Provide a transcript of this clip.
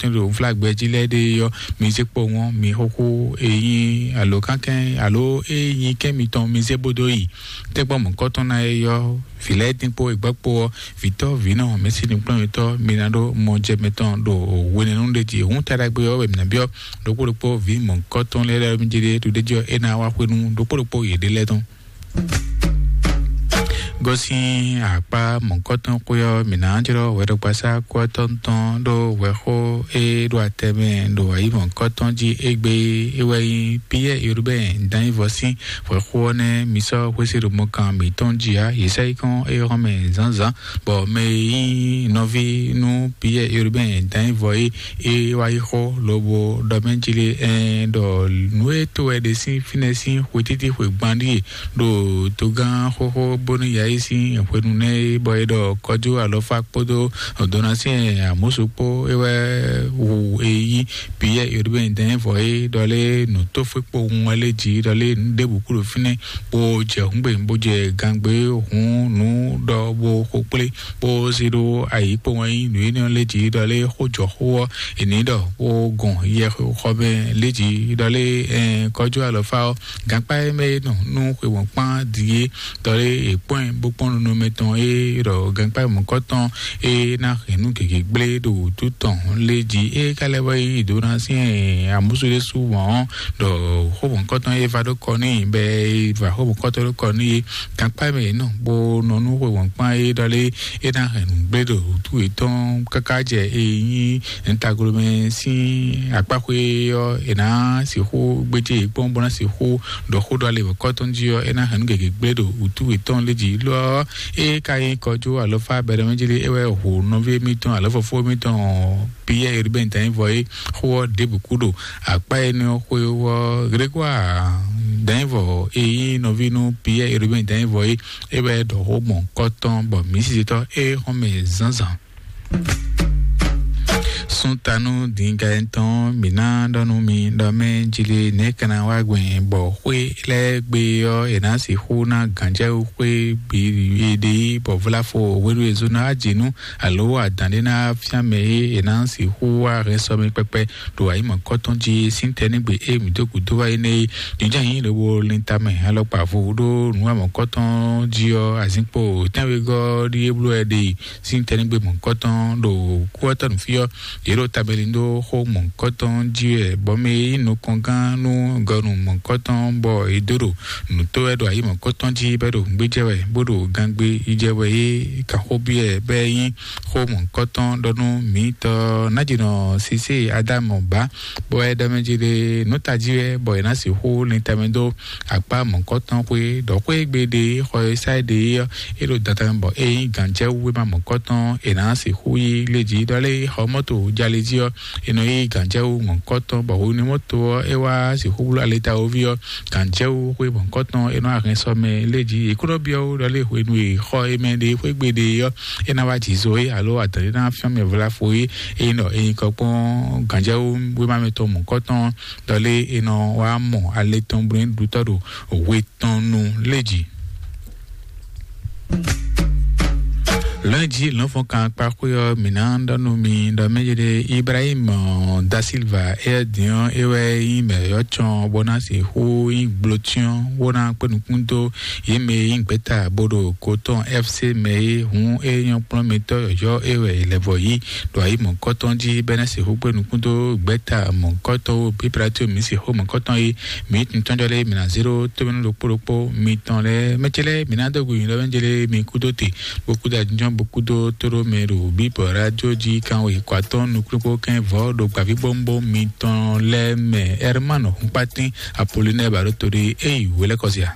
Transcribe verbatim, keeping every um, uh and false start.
tɔn ɖo nflágbɛ jí lɛ́ɛ ɖe ɔ́, mi zé kpowun ɔ́, mi xóxó e nyí alo kánkɛ́n alo e nyí kɛ́n mitɔn mi zé bódó yi. Tɛ́gbɔn mɔ̌kɔtɔn ná e ɔ́, vǐ lɛ́ɛ dín kpó egbɔ́ kpó ɔ́, vǐtɔ́ vǐnɔ mɛ̌si nukplɔ́nmɛtɔ́ mi ná ɖó mɔjɛmɛ tɔn ɖo hwenɛ́nu ɖé jí. Hǔn taɖagbe ɔ́ wɛ mǐ ná byɔ́ ɖokpó ɖokpó vǐ mɔ̌kɔtɔn lɛ́ɛ lɛ́ɛ mi jɛ ɖe ɖo ɖé jí ɔ́, é ná wá xwenu ɖokpó ɖokpó yěɖée lɛ́ɛ tɔn. Gosín akpá mɔ̌kɔtɔn xwé ɔ́, mǐ ná jlɔ́ hwɛɖɔgbasá kú ɔ́ tɔn tɔn ɖó hwɛxó e ɖo atɛ mɛ ɖo ayǐ mɔ̌kɔtɔn jí égbé é wɛ nyí Piyɛ́ɛ Urubɛ́n Danyivɔsín. Hwɛxó ɔ́ nɛ́ mi sɔ́ xwésí ɖo mɔkan mǐtɔn jí ǎ. Yě sɛ́ yí kɔn é xɔ́n mɛ zǎnzǎn, bɔ mɛ e nyí nɔví nú Piyɛ́ɛ Urubɛ́n Danyivɔ é é wá yi xó lobo ɖɔ mɛ jí lé ɛn ɖɔ nǔ e to wɛ ɖe sín fínɛ́ sín xwetítí xwe gban ɖíe ɖo togán xóxó bónú ya yi sín hwenu nɛ́ é, bɔ é ɖɔ kɔjú alɔfá kpódó dona sín amúsu kpó é wɛ wu e yí Piyɛ́ɛ Urubɛ́n Danyivɔ é ɖɔ lé nǔtófwé kpowun wɛ lé jí ɖɔ lé nǔ ɖěbǔ kú ɖo fínɛ́ bó jɛ hǔngbe bó jɛ gangbe hǔn nǔ ɖɔ bó xo kplé bó zé ɖó ayǐ kpowun wɛ nyí nǔ énɛ́ lé jí ɖɔ lé xó jɔ xó ɔ́ è nǐ ɖɔ bó gɔn yɛ xɔ mɛ lé jí ɖɔ lé ɛn kɔjú alɔfá ɔ́ gankpá e mɛ é nɔ nú xwe wɔn kpán ɖi é ɖɔ lé è kpɔ́n ɛ bó kpɔ́n nunɔmɛ tɔn é ɖɔ gankpá mɔ̌kɔtɔn é ná hɛn nú gěgé gblé ɖo wǔtu tɔn lé jí é ka lɛ́ wɛ yí dó ná sín amúsú ɖé sú wɔn ɔ́ ɖɔ xó mɔ̌kɔtɔn é va ɖó kɔ n'i bɛ é va xó mɔ̌kɔtɔn ɖó kɔ n'i é gankpá mɛ é nɔ bó nɔ nú xwe wɔn kpán é ɖɔ lé é ná hɛn nǔ gblé ɖo wǔtu yětɔn káká jɛ é nyí nǔtaglomɛ sín akpáxwé ɔ́, è nǎ sixú gbéjé yě kpɔ́n bó ná sixú ɖɔ xó ɖɔ alɛ wěkɔ́ tɔn jí ɔ́, é ná hɛn nǔ gěgé gblé ɖo wǔtu yětɔn lé jí. Lo ɔ́, é ka nyí kɔjú alɔfá bɛɖɛmɛjí lé é wɛ hu nɔví émítɔn alɔfɔfó émítɔn Piyɛ́ɛ Urubɛ́n Danyivɔ é xó ɔ́ ɖěbǔ kú ɖo akpá énɛ́ ɔ́ xwé ɔ́. Grégoire Danyivɔ e nyí nɔví nú Piyɛ́ɛ Urubɛ́n Danyivɔ é é wɛ ɖɔ xó mɔ̌kɔtɔn bɔ mǐsisitɔ́ é xɔ́n mɛ zǎnzǎn. Súntanú Dingaɛntɔn mǐ ná ɖɔ nú mi ɖɔ mɛ jlé nɛ̌ ka ná wá gbɛn bɔ xwé lɛ́ɛ gbe ɔ́ è nǎ sixú ná gǎnjɛwú xwé bǐ ɖe bɔ vláfo hwenu e zó ná wá jǐ nú alo adǎn ɖé ná fíán mɛ é è nǎ sixú wá hɛn sɔ́ mì kpɛkpɛ ɖo ayǐmɔ̌kɔtɔn jí sín tɛ́nɛ́gbe e mǐ dó gǔdo wá énɛ́ é. Jǐnjɔ́n nyí lobo lin tamɛ alɔkpa vo ɖó nǔ amɔ̌kɔtɔn jí ɔ́, azinkpo tɛ́nwegɔ́ ɖíe bló wɛ ɖe sín tɛ́nɛ́gbe mɔ̌kɔtɔn ɖo kúwatɔ́ nǔ fí ɔ́, yě ɖo tabɛlin dó xó mɔ̌kɔtɔn jí wɛ, bɔ mɛ e nyí nukɔngán nú gɔnu mɔ̌kɔtɔn bɔ è dó ɖo nǔ tó wɛ ɖo ayǐ mɔ̌kɔtɔn jí bɔ é ɖo nǔgbé jɛ wɛ bó ɖo gangbé yi jɛ wɛ é kan xó byɔ́ ɛ bɔ é nyí xó mɔ̌kɔtɔn ɖɔ nú mǐtɔn nájínɔ Sisée Adámu bá, bɔ é ɖɔ mɛ jí ɖe nǔ tají wɛ bɔ è nǎ sixú lin tamɛ dó akpá mɔ̌kɔtɔn xwé ɖɔ xwé gbe ɖe xɔ e sá ɖe é ɔ́, é ɖo dandan bɔ é nyí gǎnjɛwú wéma mɔ̌kɔtɔn è nǎ sixú yí lé jí ɖɔ lé xɔ mɔ́to jalé jí ɔ́, è nɔ yí gǎnjɛwú mɔ̌kɔtɔn bɔ hwenu mɔ́to ɔ́ é wá sixú bló alitawoví ɔ́, gǎnjɛwú xwé mɔ̌kɔtɔn é nɔ ahɛn sɔ mɛ lé jí. È kúnɔ byɔ́ wú ɖɔ lé hwenu e xɔ é mɛ ɖe xwé gbe ɖe ɔ́, é ná wá jǐ zo é alo adǎn ɖé ná fyɔ́n mɛ vlafo é, é nyí ɖɔ é nyí kɔ kpɔ́n gǎnjɛwú wéma mɛtɔn mɔ̌kɔtɔn ɖɔ lé è nɔ wá mɔ alɛ tɔn bló ɖutɔ́ ɖo hwe tɔn nu lé jí. Lɔ̌nyijǐ lɔ̌nfɔ́nkan kpáxwé ɔ́, mǐ ná ɖɔ nú mi ɖɔ mɛ jɛ ɖe Ibrahim da Silva é dín ɔ́, é wɛ nyí mɛ yɔ́ cɔn bó ná sixú nyí gblǒcyɔ́n bó ná kpé nukún dó yě mɛ e nyí gbɛ̌ta bó ɖo kotɔ́n F C mɛ é hǔn é nyɔ́ kplɔ́n mitɔ́ yɔ̌yɔ́ é wɛ è lɛ̌ vɔ yí ɖo ayǐ mɔ̌kɔtɔn jí bɔ é ná sixú kpé nukún dó gbɛ̌ta mɔ̌kɔtɔn ó bí Pilato mǐ sixú mɔ̌kɔtɔn é. Mǐ tɔn jɔ lé mǐ ná zé ɖó tómɛnú ɖokpó ɖokpó mitɔn lɛ́ɛ mɛ ce lɛ́ɛ mǐ ná dó gu nyi lɔ mɛ jɛ lé mi kú dó te bó kú dó ajínjɔ́n bó kú dó tóɖó mɛ ɖo bíbɔ rájó jí kánwé kɔ atɔ́ nukúnukpó kɛn vɔ̌ ɖo gbǎvíbówúnbó mitɔn lɛ́ɛ mɛ. Ɛrmán Húnkpátín Apolinɛ́ɛ Baɖótodé é yi wělɛ́kɔ́zia.